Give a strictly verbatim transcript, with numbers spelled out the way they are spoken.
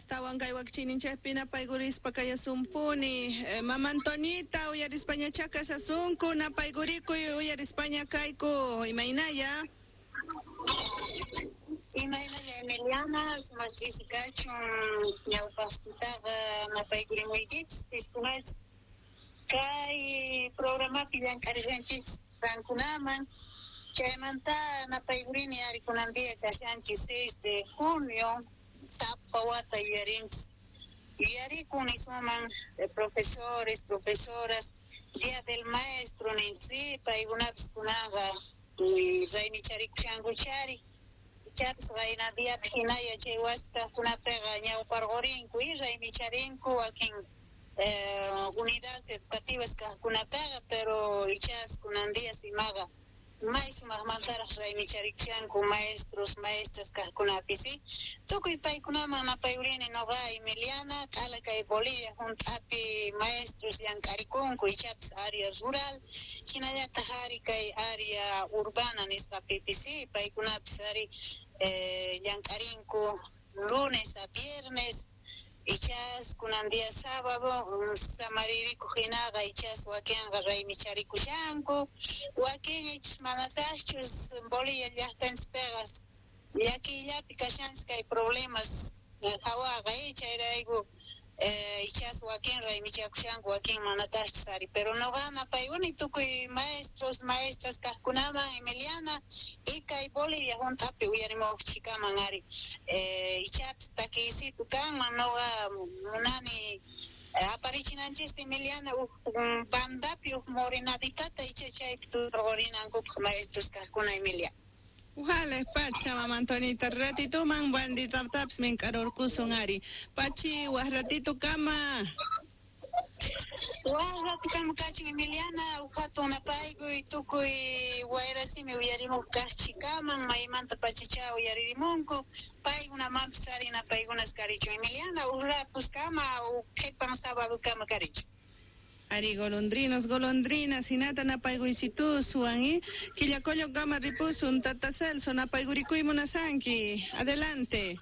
Astawan kay wakchininchikpi napaykurispa kayasumpuni. Eh, Mama Antonita, uyarispañachá kashasunku, napaygurikuy, uyarispaña kayku, imaynaya? Imaynalla, Emiliana, sumaq ch'isi kachun. Ñawpaqtaqa napaykurimuykichis piskunachis kay programapi llank'arishankichis qankunaman. Chaymanta napaykurini ari kunan día kashanchis seis de junio, sapa wata yuyarinchis, yuyarikun nisuman, profesores, profesoras, Día del Maestro ninsi, paykunapis kunanqa raymicharikuchankuchari. Ichapis qayna diapi hinaya chay wasi kaqkunapiqa ñawparqurinku y raymicharinku wakin unidades educativas kaqkunapiqa, pero ichas kunan días imaqa may sumaqmantaraq raymicharichanku maestros, maestras kaqkunapis, ¿sí? Tukuy paykunaman napayurini noqa Emiliana, q'ala kay Bolivia hunt'api maestros llank'arikunku, ichapis área rural, hinallataq ari kay área urbana nisqapipis, ¿sí? Paykunapis ari eh, llank'arinku lunes a viernes, ichas kunan día sábado samaririkuq hinaqa ichas wakinqa raymicharikuchanku, wakin ichas manataqchus. Bolivia llaqtanchispiqa llakiyllapi kashanchis kay problemas hawaqa, chayrayku ichas wakin raymichakushanku, wakin manataqchus ari, pero noqa napaykuni tukuy maestros, maestras kaqkunaman, Emiliana, y kay Bolivia hunt'api uyarimuqchikaman ari. Ichapis takiysitu kanman, noqa munani aparichinanchista, Emiliana, huk bandapi huk morenaditata, icha chaypi turqurinankupaq maestros kaqkuna, Emilia. Ujale pacha, Mama Antonita, ratituman banditapis mink'arurqusun ari. Pachi, waj ratito kama. Waj rato kama kachun, Emiliana, huk hatun napaykuy tukuy wayrasimi uyarimuq kaqchikaman, maymanta pachacha uyaririmunku paykunamanpis ari napaykunas karichun, Emiliana, huk ratos kama, huk qhipan sábado kama karichun. Ari, golondrinos, golondrinas, hinata napayguysituswan, y Quillacollo kama ripusun, Tata Celso, napaygurikuy munasanki. Adelante.